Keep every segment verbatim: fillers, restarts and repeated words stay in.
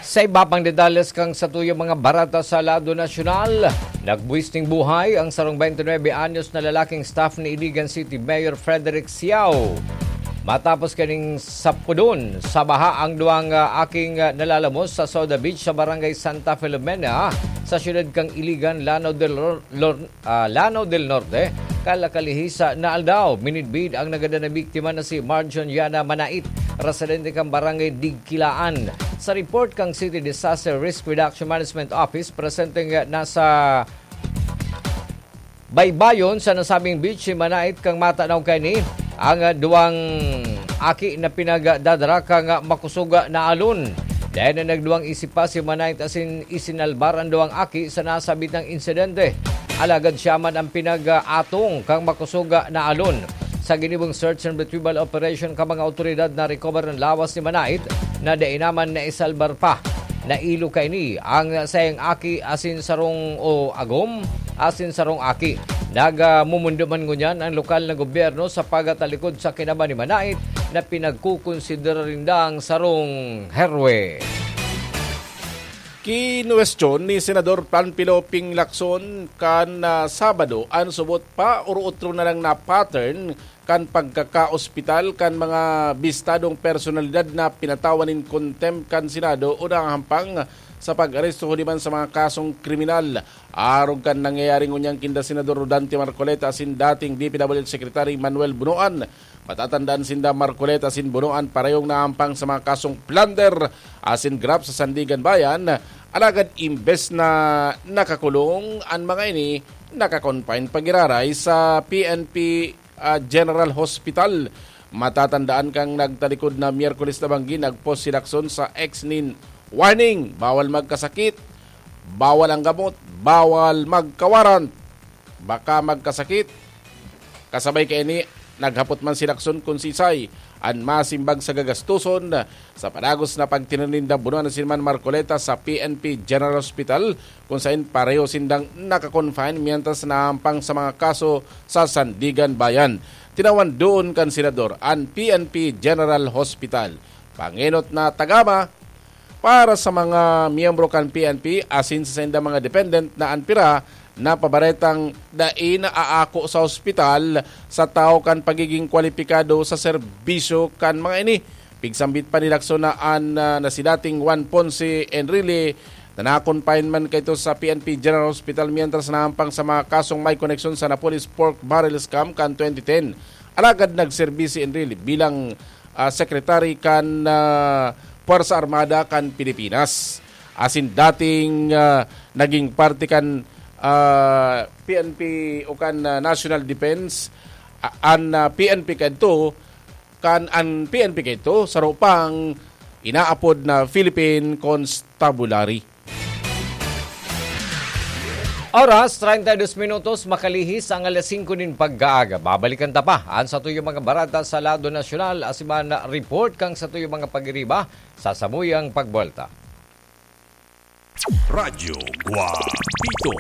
Sa iba pang detalles kan satuyang mga bareta sa lado nasyonal, nagbuwis nin buhay ang sarong twenty-nine anyos na lalaking staff ni Iligan City Mayor Frederick Siao. Matapos kaning sapudon sa baha ang duwang, ah, aking, ah, nalalamos sa Soda Beach sa Barangay Santa Filomena sa siyudad kan Iligan, Lanao del Lor-, Lor-, ah, Lanao del Norte, kalakalihis na aldaw. Minidbid ang nagadan na biktima na si Marjon Yana Manait, residente kan Barangay Digkilaan. Sa report kan City Disaster Risk Reduction Management Office, presenteng nasa baybayon sa nasabing beach si Manait kan matanaw kaini ang, ah, duwang aki na pinagdadara kan, ah, makosog na alon. Dai na nagduwang isip pa si Manait asin isinalbar an duwang aki sa nasabitang insidente. Alagad siya man ang pinag-atong kan makosog na alon. Sa ginibong search and retrieval operation kan mga awtoridad, na-recover an lawas ni Manait na dai naman naisalbar pa. Nailo kaini ang saiyang aki asin sarong, o agom, asin sarong aki. Nagmumundo man ngunyan ang lokal na gobyerno sa pagtalikod sa kinaban ni Manait na pinagkukonsidera nindang sarong heroe. Kinuwestiyon ni Senador Panfilo Ping Lacson kan, ah, Sabado an subot pa or otro na lang na pattern kan pagkakaospital kan mga bistadong personalidad na pinatawan nin contempt kan Senado o nahahampang sa pag-aresto huli man sa mga kasong kriminal. Arog kan nangyayari ngunyan kinda Senador Rodante Marcoleta asin dating D P W H Secretary Manuel Bonoan, matatandaan sinda Marcoleta asin Bonoan parehong nahahampang sa mga kasong plunder asin graft sa Sandiganbayan. Alagad imbes na nakakulong an mga ini, naka-confine pa giraray sa P N P, ah, General Hospital. Matatandaan kan nagtalikod na Miyerkules na banggi, nag-post si Lacson sa X nin warning, bawal magkasakit, bawal ang gamot, bawal magkawarant, baka magkasakit. Kasabay kaini, naghapot man si Lacson kun siisay an masimbag sa gagastoson sa padagos na pagtinan ninda Bonoan asin man Marcoleta sa P N P General Hospital, kun saen pareho sindang naka-confine mientras nahahampang sa mga kaso sa Sandiganbayan. Tinawan duon kan Senador an P N P General Hospital. Pangenot na tagama para sa mga miyembro kan P N P asin sa saindang mga dependent na an pira napabaretang dai naaako sa ospital sa tawo kan pagiging kwalipikado sa serbisyo kan mga ini. Pigsambit pa ni Lacson na an, ah, na si dating Juan Ponce Enrile na na-confine man kaito sa P N P General Hospital mientras nahahampang sa mga kasong may koneksyon sa Napoles pork barrel scam kan twenty ten. Alagad nagserbi si Enrile bilang, ah, sekretary kan, ah, Puwersa Armada kan Pilipinas. Asin dating, ah, naging parte kan, ah, P N P o kan, ah, National Defense, ah, an, ah, P N P kadto, kan an P N P kadto, saro pang inaapod na Philippine Constabulary. Oras, treinta y dos minutos, makalihis ang alas singko nin pagkaaga. Babalikan ta pa an satuyang mga bareta sa lado nasyonal, asin man report kan satuyang mga pagiriba sa samuyang pagbuwelta. Radyo Guapito.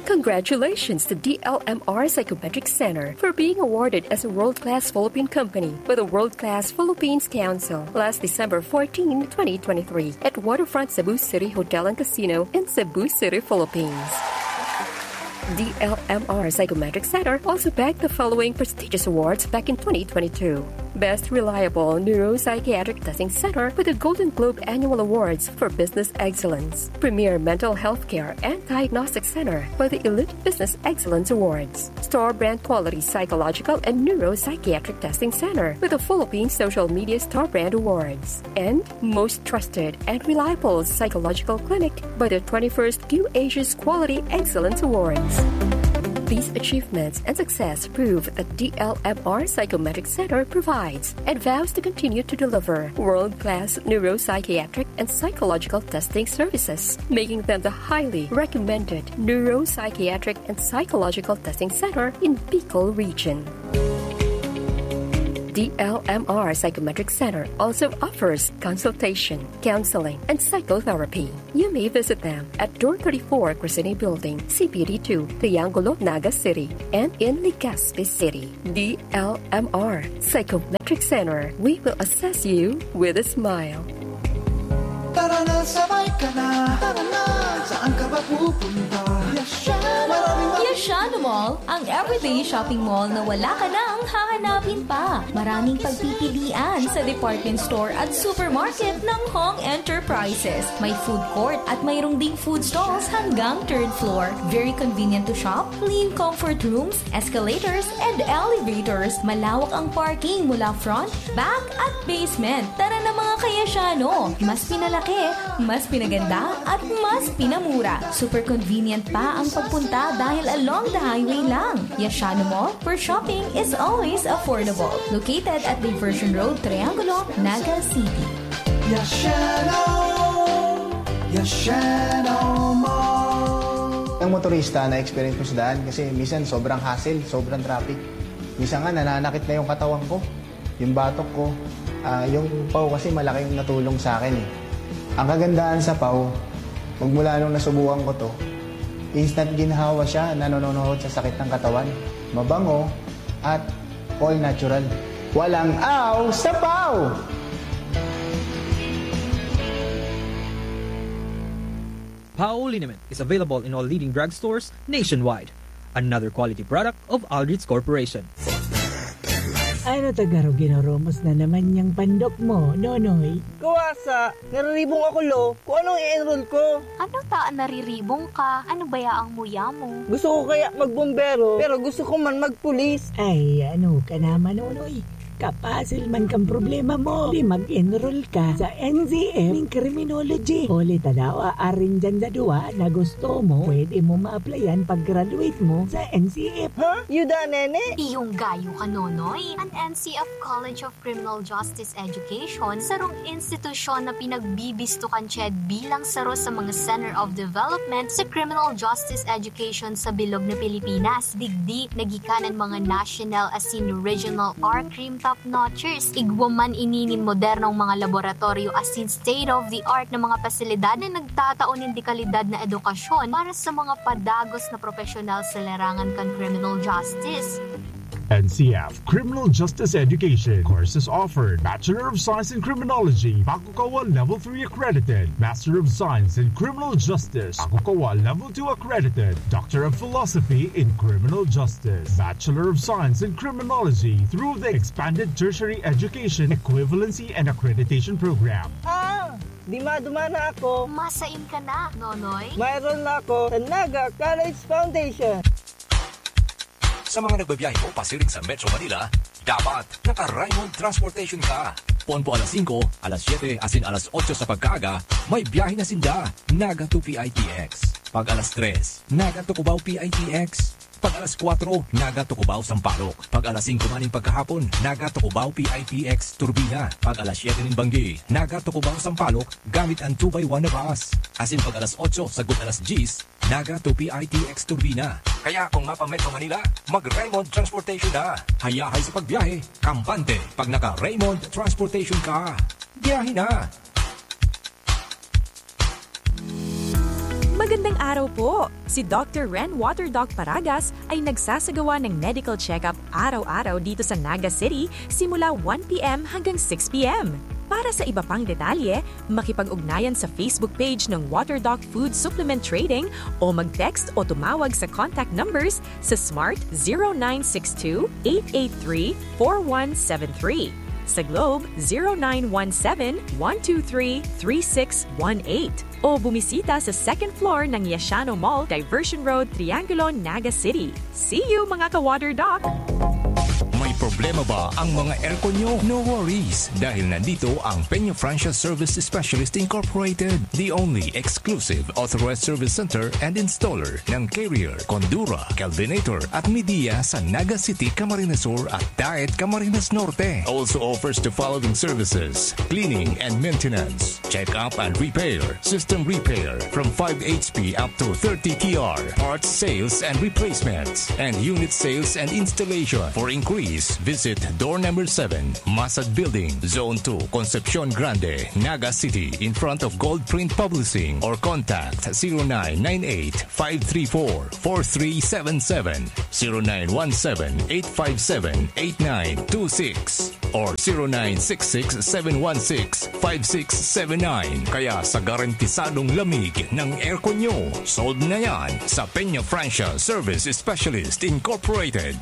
Congratulations to D L M R Psychometric Center for being awarded as a world-class Philippine company by the World Class Philippines Council last December fourteen, twenty twenty-three, at Waterfront Cebu City Hotel and Casino in Cebu City, Philippines. D L M R Psychometric Center also bagged the following prestigious awards back in twenty twenty-two: Best Reliable Neuropsychiatric Testing Center with the Golden Globe Annual Awards for Business Excellence, Premier Mental Health Care and Diagnostic Center by the Elite Business Excellence Awards, Star Brand Quality Psychological and Neuropsychiatric Testing Center with the Philippine Social Media Star Brand Awards, and Most Trusted and Reliable Psychological Clinic by the twenty-first Q Asia's Quality Excellence Awards. These achievements and success prove that D L M R Psychometric Center provides and vows to continue to deliver world-class neuropsychiatric and psychological testing services, making them the highly recommended neuropsychiatric and psychological testing center in Bicol region. The L M R Psychometric Center also offers consultation, counseling, and psychotherapy. You may visit them at two thirty-four Crescent Building, C P D two, Triangulo, Naga City, and in Legazpi City. The L M R Psychometric Center, we will assess you with a smile. Tara na, sabay ka na. Tara na, saan ka ba pupunta? Yashano! Maraming ma- Yashano Mall, ang everyday shopping mall na wala ka nang hahanapin pa. Maraming pagpipilian sa department store at supermarket ng Hong Enterprises. May food court at mayroong ding food stalls hanggang third floor. Very convenient to shop, clean comfort rooms, escalators, and elevators. Malawak ang parking mula front, back, at basement. Tara na, mga ka-Yashano! Mas pinalaki, mas pinaganda, at mas pinamura. Super convenient pa ang pagpunta dahil along the highway lang. Yashano Mall, where shopping is always affordable. Located at Diversion Road, Triangulo, Naga City. Yashano! Yashano Mall! Ang motorista na experience ko sa daan kasi minsan sobrang hassle, sobrang traffic. Minsan nga nananakit na yung katawan ko, yung batok ko. Ah, yung paw kasi malaki yung natulong sa akin eh. Ang kagandahan sa paw, magmula nung nasubukan ko to, instant ginhawa siya, nanononohod sa sakit ng katawan. Mabango at all natural. Walang aw sa paw! Pao liniment is available in all leading drugstores nationwide. Another quality product of Aldrich Corporation. Ano ta garo ginoromos na naman niyang pandok mo, Nonoy? Kuwasa, nariribong ako, lo. Kung anong i-enroll ko. Ano ta nariribong ka? Ano baya ang muya mo? Gusto ko kaya magbombero, pero gusto ko man magpulis. Ay, ano ka naman, Nonoy? Kapasil man kan problema mo, di mag-enroll ka sa N C F nin criminology. Huli ta daw, aarin dyan sa duwa na gusto mo, pwede mo ma-applyan pag-graduate mo sa N C F. Ha? Yuda, nene? Iyong gayo ka, Nonoy. An N C F College of Criminal Justice Education, sarong institusyon na pinagbibisto kan CHED bilang saro sa mga Center of Development sa Criminal Justice Education sa bilog na Pilipinas. Digdi, nagikanan mga national asin regional or crime top notchers. Igwa man ini nin modernong mga laboratoryo asin state-of-the-art na mga pasilidad na nagtatao nin dekalidad na edukasyon para sa mga padagos na propesyonal sa larangan kan criminal justice. N C F, Criminal Justice Education. Courses offered: Bachelor of Science in Criminology, Bakukawa Level three accredited, Master of Science in Criminal Justice, Bakukawa Level two accredited, Doctor of Philosophy in Criminal Justice, Bachelor of Science in Criminology through the Expanded Tertiary Education Equivalency and Accreditation Program. Ah! Di madumana ako. Masain ka na, Nonoy. Mayroon na ako sa Naga College Foundation. Sa mga nagbabiyahe po pasiring sa Metro Manila, dapat naka-Raymond Transportation ka. Poon po alas singko, alas siyete, asin alas otso sa pagkaaga, may biyahe na sinda, Naga to P I T X. Pag alas tres, Naga to Cubao P I T X. Pag alas kwatro, Naga to Cubao Sampaloc. Pag alas singko man nin pagkahapon, Naga to Cubao P I T X Turbina. Pag alas siyete nin banggi, Naga to Cubao Sampaloc, gamit an two by one na bus. Asin pag alas otso sagkod alas dyes, Naga to P I T X Turbina. Kaya kung mapa-Metro Manila, mag-Raymond Transportation na. Hayahay sa pagbiyahe, kampante pag naka-Raymond Transportation ka. Biyahe na! Magandang araw po! Si Doctor Ren Water Doc Paragas ay nagsasagawa ng medical check-up araw-araw dito sa Naga City simula one p.m. hanggang six p.m. Para sa iba pang detalye, makipag-ugnayan sa Facebook page ng Water Doc Food Supplement Trading o mag-text o tumawag sa contact numbers sa Smart zero nine six two, eight eight three, four one seven three, sa Globe zero nine one seven, one two three, three six one eight, o bumisita sa second floor ng Yashano Mall, Diversion Road, Triangulo, Naga City. See you, mga ka-Water Doc! May problema ba ang mga aircon nyo? No worries, dahil nandito ang Peña Francia Service Specialist Incorporated, the only exclusive authorized service center and installer ng Carrier, Condura, Kelvinator at Midea sa Naga City, Camarines Sur at Daet, Camarines Norte. Also offers the following services: cleaning and maintenance, check-up and repair, system repair from five H P up to thirty T R, parts sales and replacements, and unit sales and installation. For inquiries, visit Visit door number seven, Masad Building, Zone two, Concepcion Grande, Naga City, in front of Gold Print Publishing, or contact zero nine nine eight, five three four, four three seven seven, zero nine one seven, eight five seven, eight nine two six, or zero nine six six, seven one six, five six seven nine. Kaya sa garantisadong lamig ng aircon nyo, solve na yan sa Peña Francia Service Specialist Incorporated.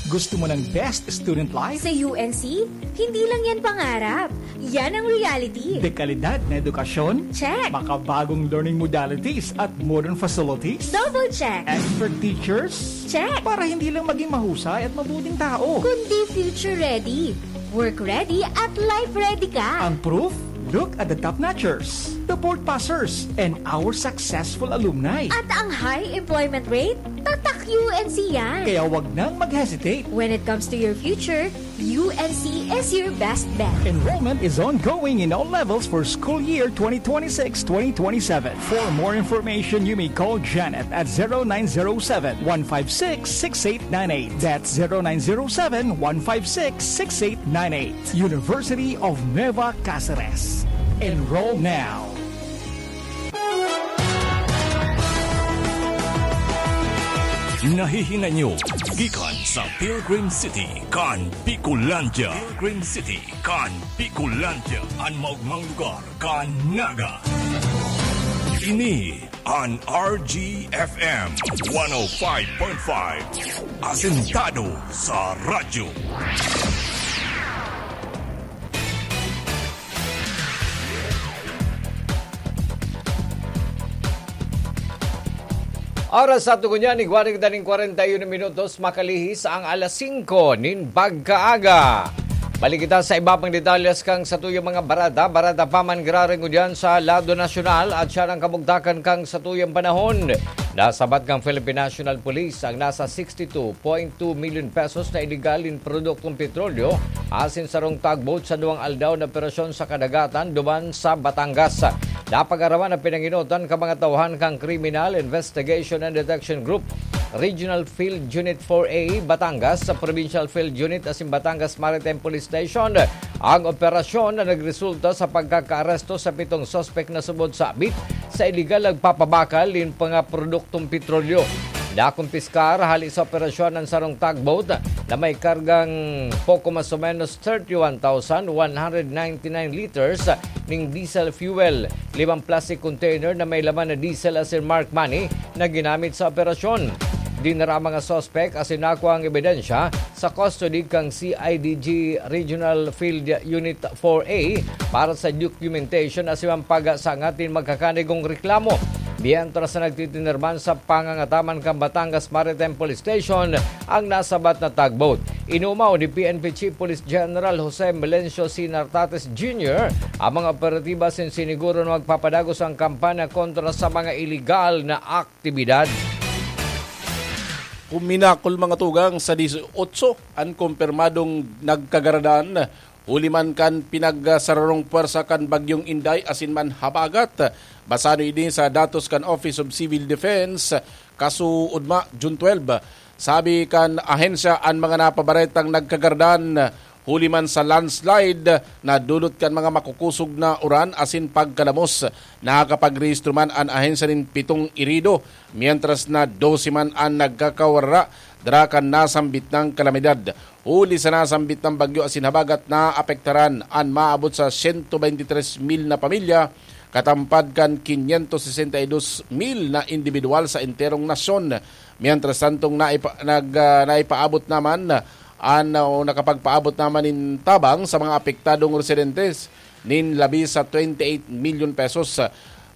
Gusto mo ng best student life? Sa U N C, hindi lang yan pangarap. Yan ang reality. Dekalidad na edukasyon? Check. Makabagong learning modalities at modern facilities? Double check. Expert teachers? Check. Para hindi lang maging mahusay at mabuting tao. Kundi future ready, work ready, at life ready ka. Ang proof? Look at the top notchers, the board passers, and our successful alumni. At ang high employment rate? Tatak U N C yan. Kaya wag nang mag-hesitate. When it comes to your future, U N C is your best bet. Enrollment is ongoing in all levels for school year twenty twenty-six twenty twenty-seven. For more information, you may call Janet at zero nine zero seven, one five six, six eight nine eight. That's zero nine zero seven, one five six, six eight nine eight. University of Nueva Caceres. Enroll now. Nahihinay nyo gikan sa Pilgrim City kan Bicolandia. Pilgrim City kan Bicolandia, an maogmang lugar kan Naga. Ini an R G F M one oh five point five, asentado sa radyo. Oras sa tugon niya, igwa na kita nin kwarenta y uno minutos, makalihis ang alas singko nin pagkaaga. Balik kita sa iba pang detalyes kan satuyang mga bareta. Bareta pa man giraray ngunyan sa lado nasyonal at siya ang kabugtakan kan satuyang panahon. Nasabat kan Philippine National Police ang nasa sixty two point two million pesos na iligal nin produktong petrolyo asin sarong tugboat sa duwang aldaw na operasyon sa kadagatan duman sa Batangas. Napag-araman na pinangenotan kan mga tauhan kan Criminal Investigation and Detection Group, Regional Field Unit four A, Batangas, sa Provincial Field Unit asin Batangas Maritime Police Station ang operasyon na nagresulta sa pagkakaaresto sa pitong suspek na subod sa abit sa iligal na pagpapabakal nin mga produktong petrolyo. Nakumpiskar hali sa operasyon an sarong tugboat na may kargang poko mas o menos thirty-one thousand one hundred ninety-nine liters ning diesel fuel, limang plastic container na may laman na diesel asin marked money na ginamit sa operasyon. Dinara ang mga suspek asin nakua ang ebidensya sa custody kan C I D G Regional Field Unit four A para sa documentation asin pagsangat nin magkakanigong reklamo. Mientras na nagtitiner man sa pangangataman kan Batangas Maritime Police Station ang nasabat na tugboat. Inumaw ni P N P Chief Police General Jose Melencio C. Nartates Junior ang mga operatiba asin siniguro na magpapadagos ang kampanya kontra sa mga iligal na aktibidad. Kuminakol, mga tugang, sa disiotso an kumpirmadong nagkagaradan huli man kan pinagsararong pwersa kan Bagyong Inday asin man habagat. Basado ini sa datos kan Office of Civil Defense, kasuodma, June twelve. Sabi kan ahensya, an mga napabaretang nagkagaradan huli man sa landslide na dulot kan mga makukosog na uran asin pagkalamos. Nakakapagrehistro man an ahensya nin pitong irido, mientras na dose man an nagkakawara dara kan nasambit nang kalamidad. Huli sa nasambit na bagyo asin habagat, naapektaran an maabot sa siyento beintitres mil na pamilya, katampad kan kinyentos sesenta y dos mil na indibidwal sa enterong nasyon. Mientras tantong naipa-, nag-, ah, naipaabot naman an, o nakapagpaabot naman nin tabang sa mga apektadong residentes nin labi sa twenty-eight million pesos.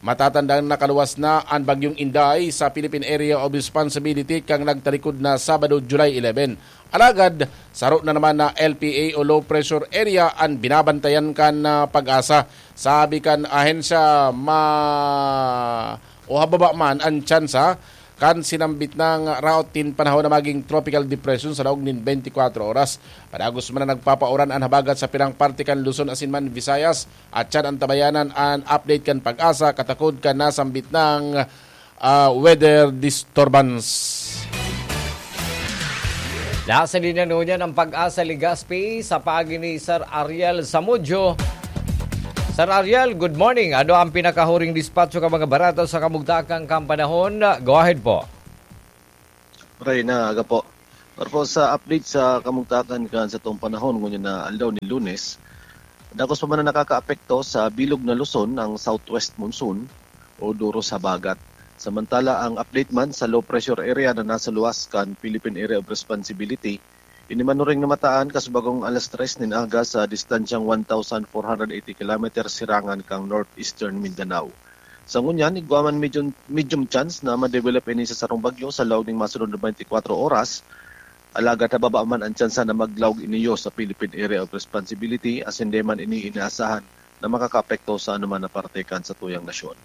Matatandang nakaluwas na an Bagyong Inday sa Philippine Area of Responsibility kan nagtalikod na Sabado, July eleven. Alagad, saro na naman na L P A o low pressure area an binabantayan kan, ah, PAGASA. Sabi kan ahensya, ma-, o hababa man an tsansa kan sinambit na route nin panahon na magin tropical depression sa laog nin beintikwatro oras. Padagos man na nagpapauran an habagat sa pirang parte kan Luzon asin man Visayas. At siyan an tabayanan an update kan PAGASA katakod kan nasambit na, ah, weather disturbance. Nasa linya ngunyan ang Pag-asa Legazpi sa paagi ni Sir Ariel Zamudyo. Sir Ariel, good morning. Ano ang pinakahuring dispatcho kan mga barata sa kamugtakan kan panahon? Go ahead po. Maray na aga po. Para po sa update sa kamugtakan kan satong panahon ngunyan na aldaw nin Lunes, dakos pa man na nakakaapekto sa bilog na Luzon ang southwest monsoon o duros habagat. Samantala, ang update man sa low pressure area na nasa luwas kan Philippine Area of Responsibility, ini manuring namataan kasubagong alas tres nin aga sa distansyang one thousand four hundred eighty kilometers sirangan kan northeastern Mindanao. Sa ngunyan, igwa man medium, medium chance na ma-develop ini sa sarong bagyo sa laog ning masunod na twenty-four oras, alagad hababa man ang tsansa na maglaog ini sa Philippine Area of Responsibility, asin di man ini inaasahan na makakaapekto sa anuman na parte kan satuyang nasyon.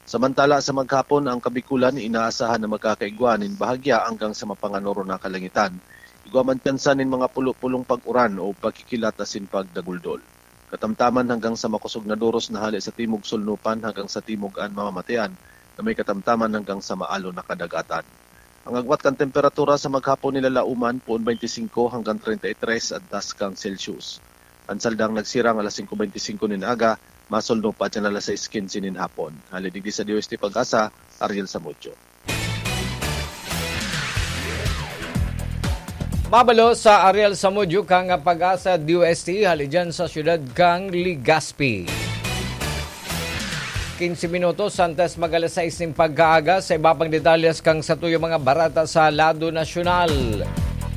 Samantala, sa maghapon, ang Kabikulan inaasahan na magkakaigwa nin bahagya hanggang sa mapanganoro na kalangitan. Igwa man tsansa nin mga pulo-pulong pag-uran o pagkikilat asin pagdaguldol. Katamtaman hanggang sa makosog na duros na hale sa timog sulnupan hanggang sa timog an mamamatean na may katamtaman hanggang sa maalo na kadagatan. Ang agwat kan temperatura sa maghapon nilalauman poon twenty-five hanggang thirty-three antas kan Celsius. An saldang nagsirang alas singko benti singko nin aga, masulno pa dyan alas sais kinse nin hapon. Hali digdi sa D O S T Pag-asa, Ariel Samudio. Mabalo sa Ariel Samudio kang Pag-asa D O S T hali dyan sa siyudad kang Legazpi. Quince minutos antes mag alas sais nin pagkaaga, sa iba pang detalyes kang satuyo mga barata sa lado nasyonal.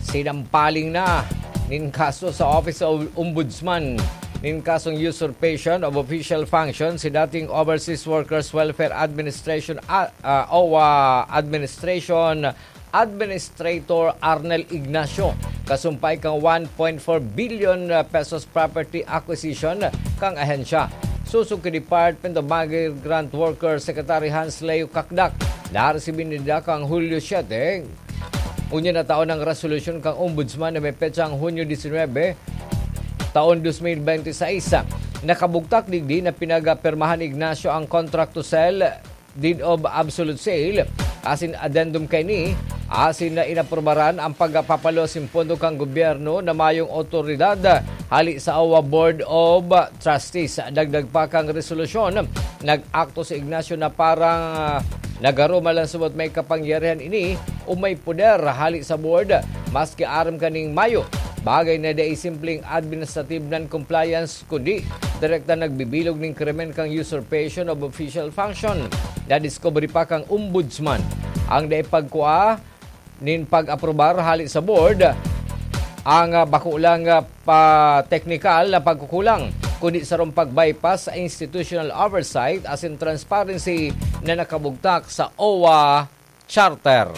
Sinampaling na nin kaso sa Office of Ombudsman nin kasong usurpation of official function si dating Overseas Workers Welfare Administration, ah, ah, OWWA Administration Administrator Arnel Ignacio, kasumpay kan one point four billion pesos property acquisition kan ahensya. Sosog ki Department of Migrant Workers Secretary Hans Leo Cacdac, naresibi ninda kan Hulyo siete, unya na taon ang resolusyon kan Ombudsman na may petsang Hunyo disinwebe, taon dos mil benti sais. Nakabugtak digdi na pinagpirmahan ni Ignacio ang contract to sell, deed of absolute sale, asin addendum kaini, asin na inaprubaran ang pagpapalo sin pondo kan gobyerno na mayong awtoridad hali sa OWWA Board of Trustees. Dagdag pa kan resolusyon, nag-akto si Ignacio na parang, ah, nagaro man lang subot may kapangyarihan ini o may poder hali sa board, maski aram kaning mayo. Bagay na dai simpleng administrative non-compliance, kundi direkta nagbibilog nin krimen kan usurpation of official function. Nadiskubre pa kan Ombudsman ang dai pagkua nin pag-aprobar hali sa board, ang, ah, bako lang, ah, pa teknikal na pagkukulang, kundi sarong pag-bypass sa institutional oversight asin transparency na nakabugtak sa OWWA Charter.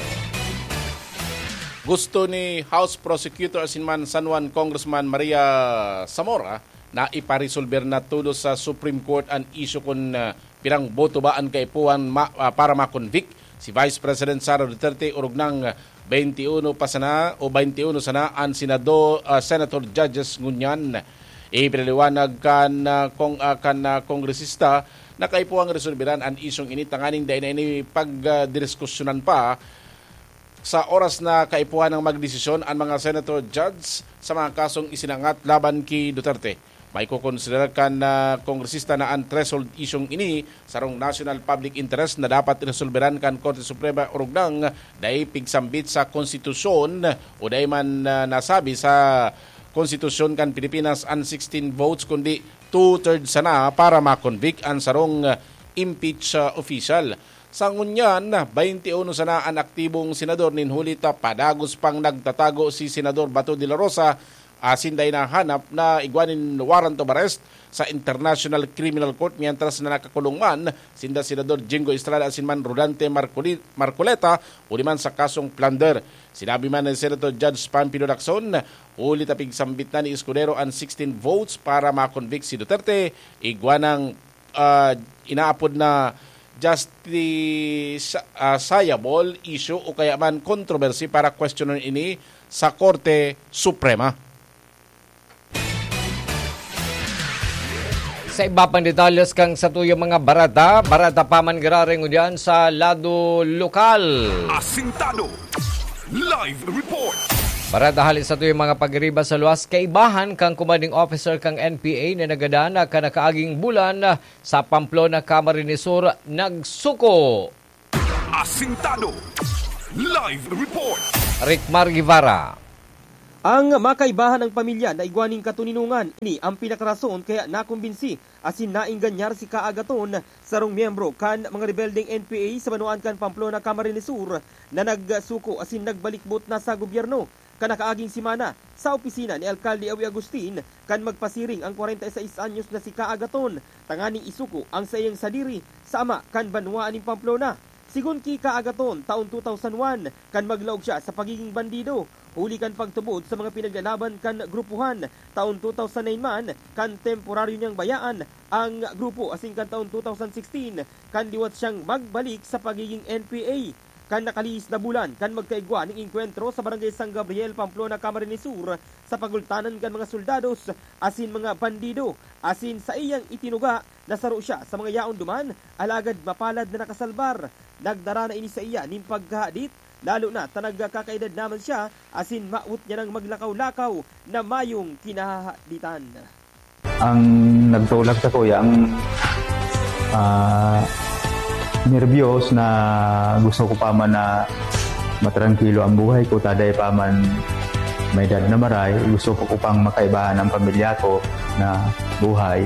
Gusto ni House Prosecutor asin man San Juan Congressman Maria Zamora na iparesolber na todos sa Supreme Court an isyu kun, ah, pirang boto ba an kaipuhan ma-, ah, para ma-convict si Vice President Sara Duterte orog nang twenty-one pa sana o twenty-one sana an senado-, ah, senator judges ngunyan. Ipinaliwanag kan, ah, kong-, ah, kan, ah, kongresista na kaipuhang resolberan an isyung ini tanganing dai na ini pagdiskusyonan pa sa oras na kaipuhan ng magdesisyon an mga senator judge sa mga kasong isinangat laban ki Duterte. Maikokonsiderar kan, ah, kongresista na an threshold isyung ini sarong national public interest na dapat resolberan kan Korte Suprema orog nang dai pigsambit sa konstitusyon o dai man, ah, nasabi sa konstitusyon kan Pilipinas an sixteen votes, kundi two-thirds sana para ma-convict an sarong, ah, impeach, ah, official. Sa ngunyan, twenty-one sana an aktibong senador nin huli ta padagos pang nagtatago si Senador Bato de la Rosa, asin dai nahanap na igwa nin warrant of arrest sa International Criminal Court, mientras na nakakulong man sinda Senador Jingo Estrada asin man Rodante Marcoli-, Marcoleta, huli man sa kasong plunder. Sinabi man ni Senator Judge Panfilo Lacson, huli ta pigsambit na ni Escudero an sixteen votes para ma-convict si Duterte, igwa nang, ah, inaapod na justifiable issue o kaya man controversy para kwestiyonon ini sa Korte Suprema. Sa iba pang detalyes kan satuyang mga barata, barata pa man giraray ngunyan sa lado lokal. Asintado. Live report. Para dahil sa tuyong mga pagiriba sa luwas, kaibahan kan commanding officer kan N P A na nagadan na kan nakaaging bulan sa Pamplona, Camarines Sur, nagsuko. Asintado. Live report. Rickmar Guevara. Ang makaibahan ang pamilya na igwa nin katoninongan. Ini ang pinakarason kaya nakumbinsi asin naengganyar si Ka Agaton, sarong miyembro kan mga rebeldeng N P A sa banwaan kan Pamplona, Camarines Sur, na nagsuko asin nagbalikbot na sa gobyerno. Kan nakaaging semana, sa opisina ni Alkalde Awi Agustin, kan magpasiring ang kwarenta y seis anyos na si Ka Agaton, tanganing isuko ang saiyang sadiri sa ama kan banwaan nin Pamplona. Sigon ki Ka Agaton, taon two thousand one, kan maglaog siya sa pagiging bandido, huli kan pagtubod sa mga pinaglalaban kan grupuhan. Taon two thousand nine man, kan temporaryo niyang bayaan ang grupo, asin kan taon two thousand sixteen, kan liwat siyang magbalik sa pagiging N P A. Kan nakalihis na bulan, kan magkaigwa ning engkwentro sa Barangay San Gabriel, Pamplona, Camarines Sur, sa pagultanan kan mga soldados asin mga bandido, asin saiyang itinuga na saro siya sa mga yaon duman, alagad mapalad na nakasalbar. Nagdara na ini saiya nin pagkahadit, lalo na ta nagkakaedad naman siya, asin mawot niya nang maglakaw-lakaw na mayong kinahahaditan. Ang nagtulak sa kuya, ang, ah, nerbiyos na gusto ko pa man na matrangkilo ang buhay ko, taday pa man may edad na maray, gusto ko, ko pang makaibahan ang pamilya ko na buhay.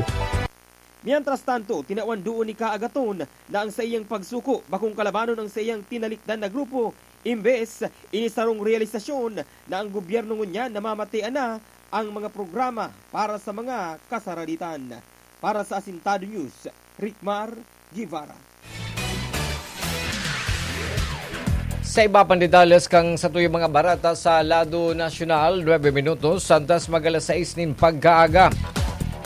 Mientras tanto, tinawan doon ni Ka Agaton na ang saiyang pagsuko bakong kalabanon ang saiyang tinalikdan na grupo, imbes ini sarong realisasyon na ang gobyerno ngunyan namamatean na ang mga programa para sa mga kasaraditan. Para sa Asintado News, Rickmar Guevara. Sa iba pang detalles kan satuyang mga bareta sa lado nasyonal, nuebe minutos antes mag-alas sais nin pagkaaga.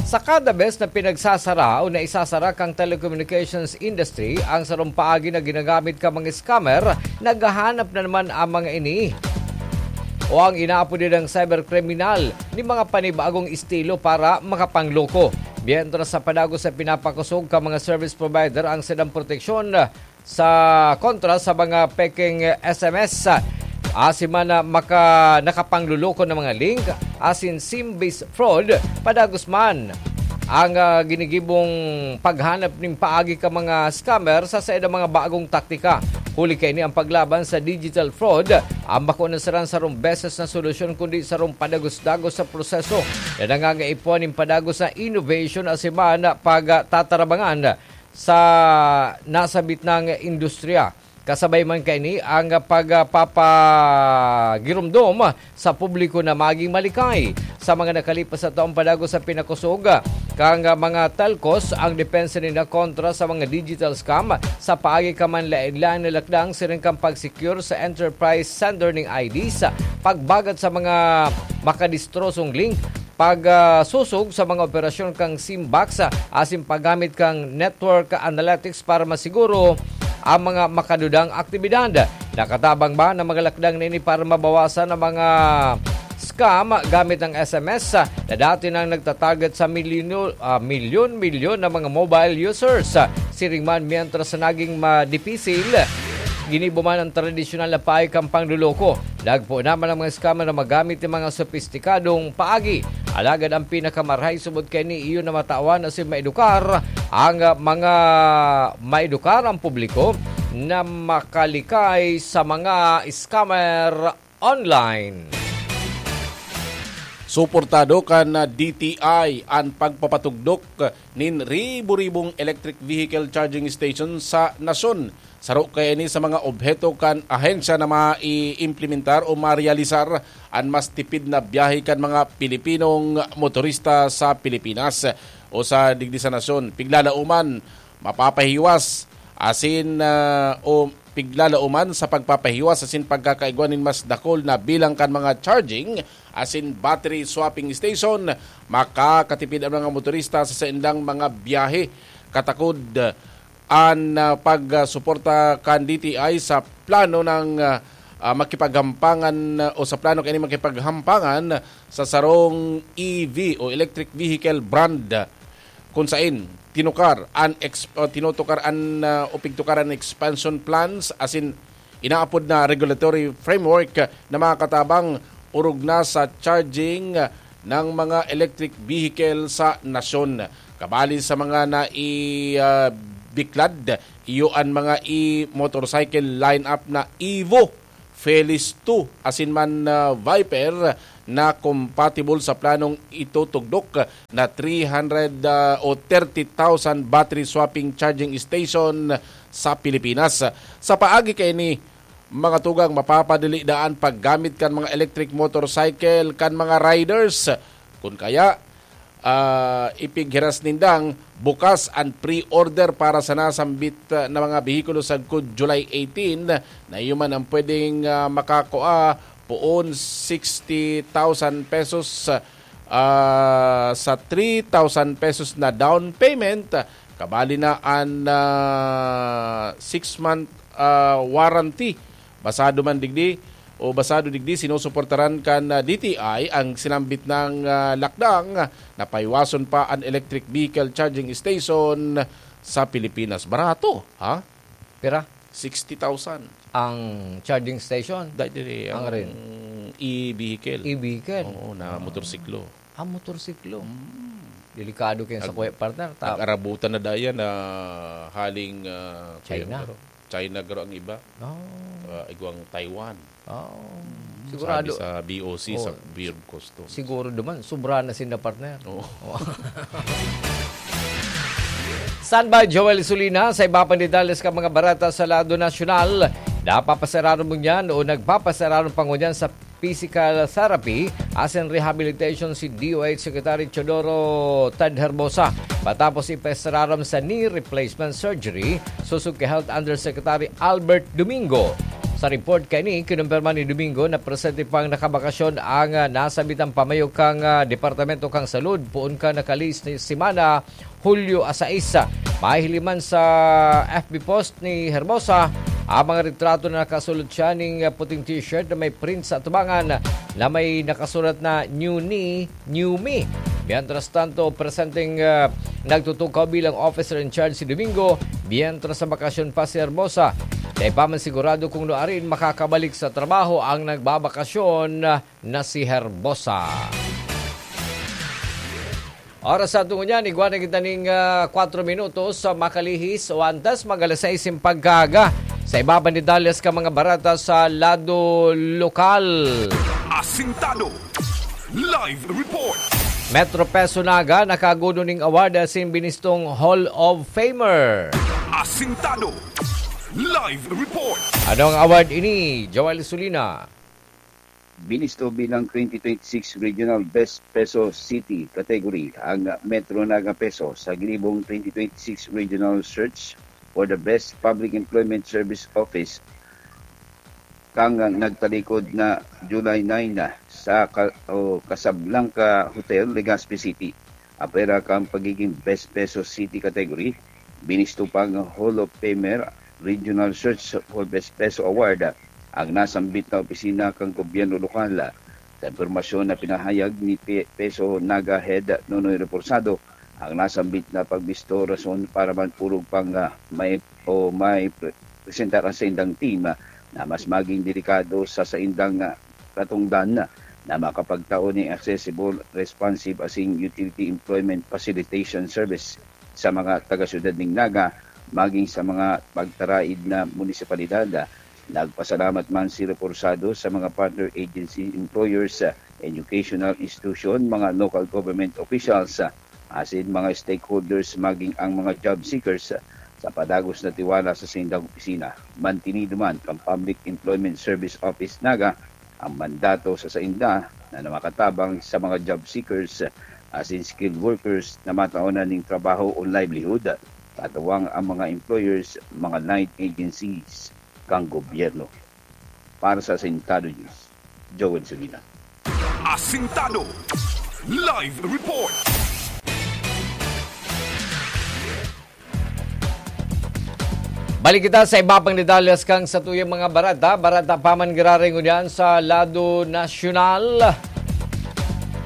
Sa kada bes na pinagsasara o naisasara kan telecommunications industry ang sarong paagi na ginagamit kan mga scammer, naghahanap na naman ang mga ini o ang inaapod nilang cyberkriminal nin mga panibagong estilo para makapangloko. Mientras sa padagos sa pinapakosog kan mga service provider ang saindang proteksyon sa kontra sa mga pekeng S M S, asin man na maka-, nakapangloloko na mga link, asin sim-based fraud, padagos man ang, ah, ginigibong paghanap nin paagi kan mga scammer sa saindang mga bagong taktika. Huli kaini, ang paglaban sa digital fraud, ang bako na sarang sarong beses na solusyon, kundi sarong padagos-dagos sa proseso na nangangaipuhan nin padagos na innovation asin man pagtatarabangan sa nasabit nang industriya. Kasabay man kaini ang pagpapagiromdom sa publiko na maging malikay. Sa mga nakalipas na taon, padagos sa pinakosog kan mga telcos ang depensa ninda kontra sa mga digital scam sa paagi kan manlaen-laen na lakdang, siring kan pag-secure sa enterprise sender nin I Ds, pagbagat sa mga makadistrosong link, pag, ah, susog sa mga operasyon kan sim box, ah, asin paggamit kan network analytics para masiguro ang mga makadudang aktibidad. Nakatabang ba na mga lakdang na ini para mabawasan ang mga scam gamit ang S M S, ah, na dati nang nagtatarget sa milyon, ah, milyon-milyon na mga mobile users? Ah, siring man, mientras na naging madipisil, ginibo man ang tradisyonal na paagi kan pangloloko. Nagpoon naman ang mga scammer na magamit nin mga sopistikadong paagi. Alagad ang pinakamarahay subot kaini iyo na matawan asin maedukar ang mga, maedukar ang publiko na makalikay sa mga scammer online. Suportado kan D T I an pagpapatugdok nin ribo-ribong electric vehicle charging station sa nasyon. Saro kaya ini sa mga obheto kan ahensya na maiimplementar o marealisar an mas tipid na biyahe kan mga Pilipinong motorista sa Pilipinas. O sa digdi sa nasyon, piglalauman, mapapahiwas asin, ah, o piglalauman sa pagpapahiwas asin pagkakaigwa nin mas dakul na bilang kan mga charging asin battery swapping station, makakatipid ang mga motorista sa saindang mga biyahe. Katakod an, ah, pagsuporta kan D T I sa plano ng, ah, ah, makipaghampangan, ah, o sa plano kaini makipaghampangan sa sarong E V o electric vehicle brand, kun sain tinukar an ex-, o tinutukar an, ah, o pigtukar an expansion plans asin inaapod na regulatory framework na makakatabang orog na sa charging ng mga electric vehicle sa nasyon. Kabali sa mga nai, ah, biklad, iyo an mga e-motorcycle lineup na Evo, Felis two, asin man, ah, Viper na compatible sa planong itutugdok na three hundred, ah, o thirty thousand battery swapping charging station sa Pilipinas. Sa paagi kaini, mga tugang, mapapadali daan paggamit kan mga electric motorcycle kan mga riders. Kun kaya, ah, ipighiras nindang bukas an pre-order para sa nasambit, ah, na mga behikulo sagkod July eighteen, na iyo man ang pwedeng, ah, makakua poon sixty thousand pesos, ah, sa three thousand pesos na down payment, kabali na an, ah, six-month, ah, warranty. Basado man digdi o basado digdi, sinusuportaran kan, ah, D T I ang sinambit nang, ah, lakdang na paiwason pa an electric vehicle charging station sa Pilipinas. Barato, ha? Pira? Sixty thousand. Ang charging station? Dahil diri, Ang ang rin? e-vehicle. E-vehicle? Oo, na Ah. motorsiklo. Ah, motorsiklo. Mm. Delikado kayo sa Ag-, kuya, partner. Ta- ag-arabutan na dayan na haling, ah, China. kuya, pero China garo ang iba. Oh. Ah, igwang Taiwan. Oh. Mm, Sigurado. sabi sa B O C, sa Oh. Bureau of Customs. Siguro naman, sobra na sinda, partner. Oo. Oh. Standby, Joel Sulina, sa iba pang detalles kan mga barata sa lado nasyonal. Napapasararon mo niyan o nagpapasararon pa ngunyan sa physical therapy asin rehabilitation si D O H Secretary Teodoro Ted Herbosa matapos ipasararom sa knee replacement surgery sosog ki Health Undersecretary Albert Domingo. Sa report kaini, kinumpirma ni Domingo na presente pang nakabakasyon ang, ah, nasambitang pamayo kan, ah, Departamento kan Salud poon kan nakalihis na semana, Hulyo a sais. Mahihiling man sa F B post ni Hermosa ang mga retrato na nakasulot siya ning puting t-shirt na may print sa atubangan na may nakasurat na "New Knee, New Me." Mientras tanto, presenteng, ah, nagtutukaw bilang officer in charge si Domingo, mientras sa bakasyon pa si Hermosa. Dai pa man sigurado kung nuarin makakabalik sa trabaho ang nagbabakasyon na si Herbosa. Oras sa tungo niyan, igwa na kita ning, ah, kwatro minutos sa makalihis o antes mag alas sais nin pagkaaga. Sa iba pang detalles kan mga barata sa lado lokal. Asintado. Live report. Metro Peso Naga nakaguno ning award asin binistong Hall of Famer. Asintado. Live report. Ano ang award ini, Joel Sulina? Binisto bilang twenty twenty-six Regional Best Peso City category ang Metro Naga Peso sa ginibong twenty twenty-six Regional Search for the Best Public Employment Service Office kang nagtalikod na July nine na sa Ka-, o Casablanca Hotel, Legazpi City. Apwera kan pagiging Best Peso City category, binisto pang Hall of Famer Regional Search for Best Peso Award ang nasambit na opisina kan gobyerno lokal. Sa impormasyon na pinahayag ni Pe-, Peso Naga Head Nonoy Reporsado, ang nasambit na pagbisto rason para man orog pang, ah, may, o may pre-, presentar ang saindang team, ah, na mas maging delikado sa saindang, ah, katungdan na makapagtao nin accessible, responsive asin utility employment facilitation service sa mga taga-syudad nin Naga, maging sa mga pagtaraid na munisipalidad. Nagpasalamat man si Reporsado sa mga partner agency, employers, educational institution, mga local government officials, asin mga stakeholders, maging ang mga job seekers, sa padagos na tiwala sa saindang opisina. Mantinido man kan Public Employment Service Office Naga ang mandato sa sainda na makatabang sa mga job seekers asin skilled workers na mataonan nin trabaho o livelihood, katuwang ang mga employers, mga line agencies kan gobyerno. Para sa Asintado News, Joel Sulina. Asintado. Live report. Balik kita sa iba pang detalles kan satuyang mga barata. Barata pa man giraray ngunyan sa lado nasyonal.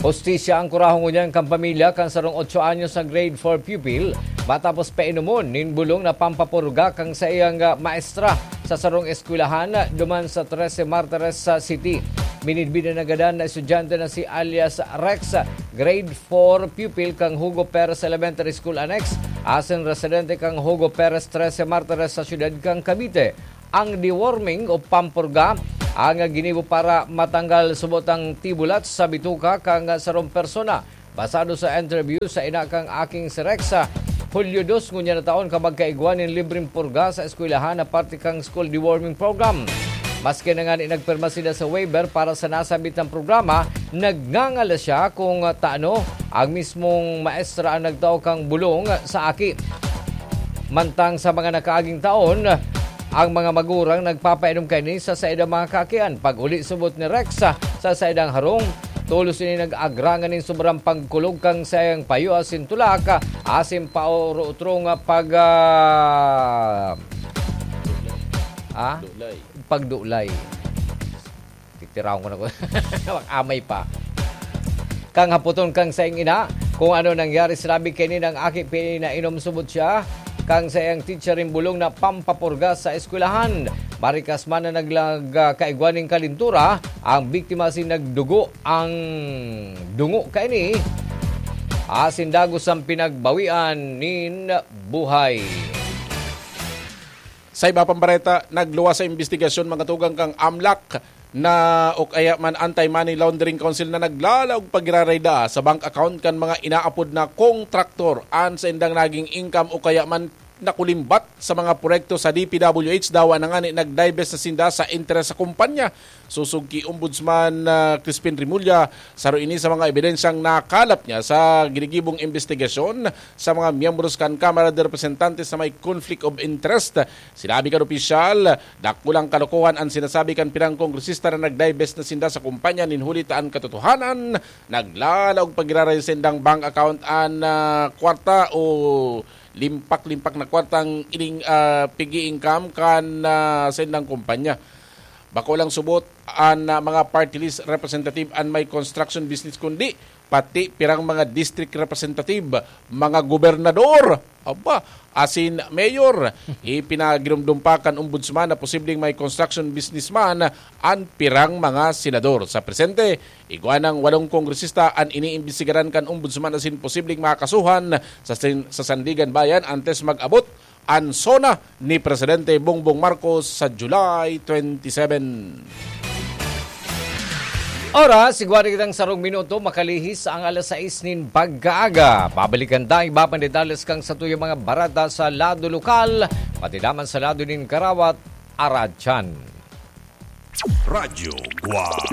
Hustisya ang kurahon ngunyan kan pamilya kan sarong otso anyos na grade four pupil matapos painomon nin bulong na pampapurga kan saiyang, ah, maestra sa sarong eskwelahan duman sa Trece Martires, ah, City. Minidbid na nagadan na estudyante na si alias Rex, grade four pupil kan Hugo Perez Elementary School Annex, asin residente kan Hugo Perez trese Martires sa siyudad kan Cavite. Ang deworming o pampurga ang ginibo para matanggal subot ang tibulat sa bituka kan sarong persona. Basado sa interview sa ina kan aking si Rex, Hulyo dos ngunyan na taon ka magkaigwa nin libreng purga sa eskwelahan na parte kan school deworming program. Maski na ngani nagpirma sila sa waiver para sa nasabit na programa, nagngangalas siya kung tano ang mismong maestra ang nagtao kang bulong sa aki. Mantang sa mga nakaaging taon, ang mga magurang nagpapainom kaini sa saidang mga kakian. Pag-uli subot ni Rex sa saidang harong, tolos ini nag-agrangan nin sobrang pagkulog kan saiyang payo asin tulak, asin pautro-utro nga pag, ah, ah? Dulay. Pagdulay. Titiraon ko na ko. Mag-amay pa. Kang hapoton kang saing ina, kung ano nangyari, sinabi kaini ng aki, pinainom subot siya kang saiyang teacher in bulong na pampapurga sa eskwelahan. Marikas man na naglag-, ah, kaigwa nin kalintura, ang biktima si nagdugo ang dungo kaini. Asin dagos ang pinagbawian nin buhay. Sa iba pang bareta, nagluwas sa imbestigasyon mga tugang kang amlak na o kaya man Anti-Money Laundering Council na naglalaog pagiraray daa sa bank account kan mga inaapod na kontraktor an saindang naging income o kaya man nakulimbat sa mga proyekto sa D P W H. Dawa na ngani nag-divest na sinda sa interes sa kumpanya. Susog ki Ombudsman, ah, Crispin Remulla, saro ini sa mga ebidensyang nakalap niya sa ginigibong imbestigasyon sa mga miyembros kan Kamara de Representantes na may conflict of interest. Sinabi kan opisyal, dakulang kalokohan an sinasabi kan pirang kongresista na nag-divest na sinda sa kumpanya nin huli ta an katotohanan, naglalaog pagiraray sa indang bank account an, ah, kwarta o limpak-limpak na kwartang ining, ah, pig-i-income kan, ah, sa indang kumpanya. Bako lang subot an, ah, mga party list representative an may construction business, kundi pati pirang mga district representative, mga gobernador, aba, asin mayor. Ipinagirumdom pa kan ombudsman na posibleng may construction businessman an pirang mga senador. Sa presente, igwa nang walong kongresista an iniimbestigaran kan ombudsman asin posibleng makasuhan sa sin-, sa Sandigan Bayan antes mag-abot an SONA ni Presidente Bongbong Marcos sa July twenty-seven. Oras, igwa na kitang sarong minuto, makalihis ang alas sais nin pagkaaga. Babalikan ta iba pang detalles kan satuyang mga bareta sa lado lokal, pati naman sa lado nin karawat, aradyan. Radyo Guwang.